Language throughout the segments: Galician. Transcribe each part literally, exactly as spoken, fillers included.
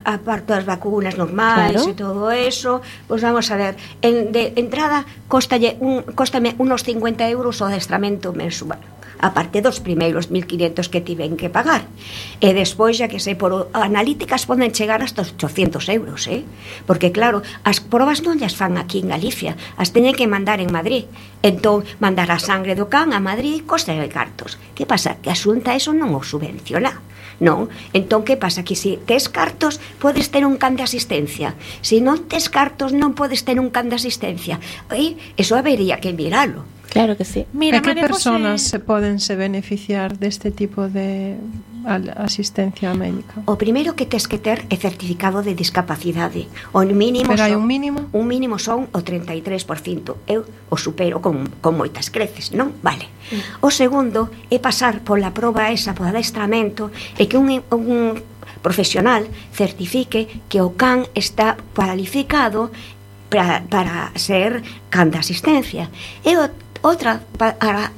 aparte das vacunas normais, claro, e todo eso, pois vamos a ver, en, de entrada costalle un, costame unos cincuenta euros o adestramento mensual, aparte dos primeiros mil quinhentos que tiven que pagar, e despois, xa que sei, por analíticas poden chegar hasta oitocentos euros, eh? Porque claro, as probas non llas fan aquí en Galicia, as teñen que mandar en Madrid, entón mandar a sangre do can a Madrid costa de cartos. Que pasa? Que a Xunta eso non o subvenciona. Non, entón que pasa? Que se tes cartos podes ter un can de asistencia, se non tes cartos non podes ter un can de asistencia, e iso habería que miralo. Claro que sí. Mira, que persoas José... se poden se beneficiar deste tipo de asistencia médica? O primeiro que tes que ter é certificado de discapacidade. O mínimo Pero hai son, un mínimo? Un mínimo son o treinta e tres por ciento. Eu o supero con, con moitas creces, non? Vale. Mm. O segundo é pasar pola proba esa, por adestramento, e que un, un profesional certifique que o can está cualificado para, para ser can de asistencia. E o outra, para,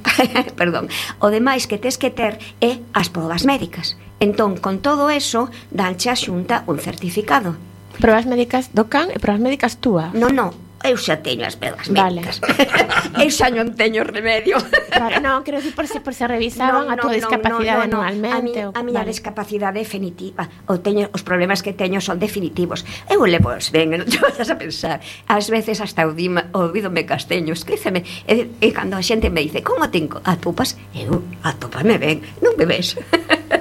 perdón, o demais que tes que ter é as probas médicas. Entón, con todo eso, danche a Xunta un certificado. Probas médicas do can e probas médicas túa? Non, non, eu xa teño as probas médicas. Vale. Eu xa non teño remedio. Vale, non, quero dicir por se, por se revisaban no, no, a tua discapacidade no, no, no, anualmente. A, mi, a miña vale. discapacidade é definitiva. O teño, os problemas que teño son definitivos. Eu levo os ben, non te vayas a pensar. Ás veces hasta o dima, ouvídome casteño, escríceme. E, e cando a xente me dice, como te atopas? Eu, atópame ben, non me ves.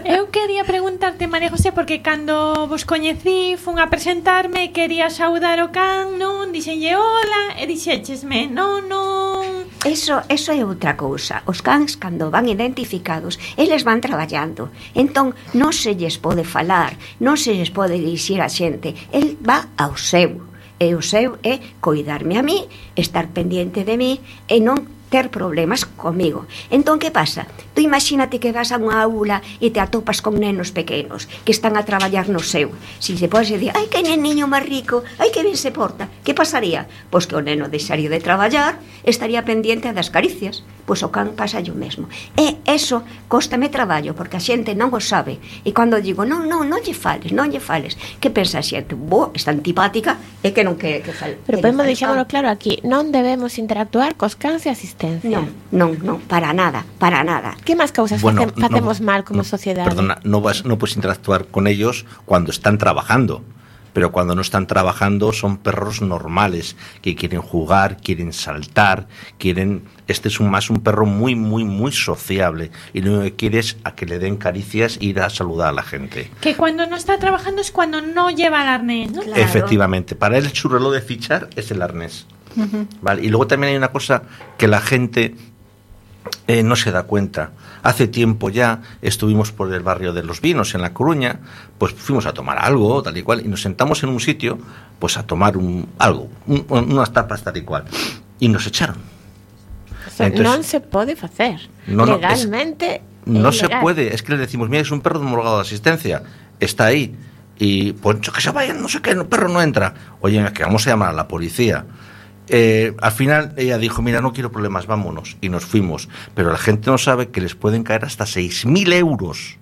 Eu quería preguntarte, María José, porque cando vos coñecí, fun a presentarme, quería saudar o can, non? Dixenlle hola, e dixéchesme, non, non... Eso, eso é outra cousa. Os cans, cando van identificados, eles van traballando. Entón, non se lles pode falar, non se lles pode dirixir a xente. El va ao seu. E o seu é coidarme a mí, estar pendiente de mí, e non ter problemas comigo. Entón, que pasa? Tú imagínate que vas a unha aula e te atopas con nenos pequenos que están a traballar no seu. Si se podes decir, ai, que neniño máis rico, ai, que ben se porta, que pasaría? Pois que o neno deixaría de traballar, estaría pendiente das caricias. Pois o can pasa o mesmo. E eso cóstame traballo, porque a xente non o sabe. E cando digo, non, non, non lle fales, non lle fales, que pensa a xente? Bo, está antipática, é que non quere que fale. Pero podemos deixámoslo claro aquí, non debemos interactuar cos cans e asistencia. Non, non, non, para nada, para nada. Que máis causas bueno, face, facemos no, mal como no, sociedade? Perdona, no, vas, no puedes interactuar con ellos cuando están trabajando, pero cuando no están trabajando son perros normales, que quieren jugar, quieren saltar, quieren... Este es un, más un perro muy, muy, muy sociable, y lo que quiere es a que le den caricias e ir a saludar a la gente. Que cuando no está trabajando es cuando no lleva el arnés, ¿no? Claro. Efectivamente, para él su reloj de fichar es el arnés. Uh-huh. Vale, y luego también hay una cosa que la gente eh, no se da cuenta. Hace tiempo ya estuvimos por el barrio de Los Vinos en La Coruña, pues fuimos a tomar algo tal y cual, y nos sentamos en un sitio pues a tomar un, algo, un, unas tapas tal y cual, y nos echaron. O sea, entonces, non se pode facer no, no, legalmente. Es, no se puede, es que le decimos, mira, es un perro homologado de asistencia, está ahí, y pues que se vayan, no sé qué, el perro no entra. Oye, que vamos a llamar a la policía. Eh, al final ella dijo, mira, no quiero problemas, vámonos, y nos fuimos. Pero la gente no sabe que les pueden caer hasta seis mil euros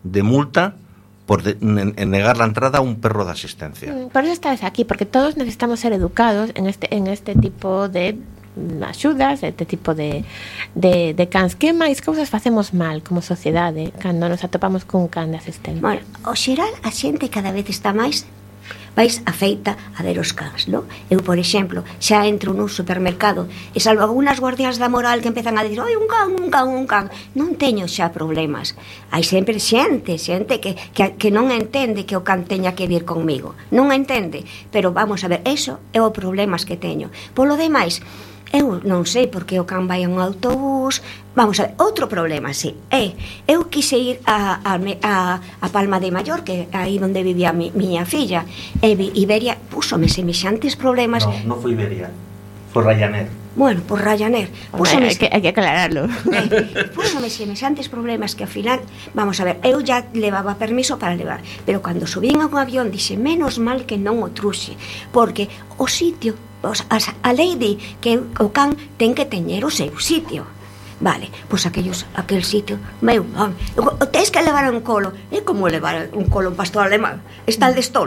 de multa por de, en, en negar la entrada a un perro de asistencia. Por eso estás aquí, porque todos necesitamos ser educados en este, en este tipo de axudas, este tipo de, de, de cans. Que máis cousas facemos mal como sociedade cando nos atopamos cun can de asistencia? Bueno, o xeral, a xente cada vez está máis vais afeita a ver os cans, non? Eu, por exemplo, xa entro nun supermercado e salvo algunhas guardias da moral que empezan a dicir, oi, un can, un can, un can, non teño xa problemas. Hai sempre xente, xente que, que, que non entende que o can teña que vir conmigo, non entende, pero vamos a ver, eso é o problemas que teño. Polo demais, eu non sei porque o can vai a un autobús. Vamos a ver, outro problema, sí, é, eu quise ir a, a, a, a Palma de Mallorca, aí onde vivía mi, miña filla, e Iberia púsome semexantes problemas. No, non foi Iberia, foi Ryanair. Bueno, por Ryanair. Púsome, hai, que, hai que aclararlo. Eh, púsome semexantes problemas que ao final, vamos a ver, eu já levaba permiso para levar, pero cando subín a un avión dixe, menos mal que non o truxe, porque o sitio, a lei di que o can ten que teñer o seu sitio. Vale, pois aquellos, aquel sitio, meu, tens que levar un colo. É como levar un colo un pastor alemán. Está el de estolo.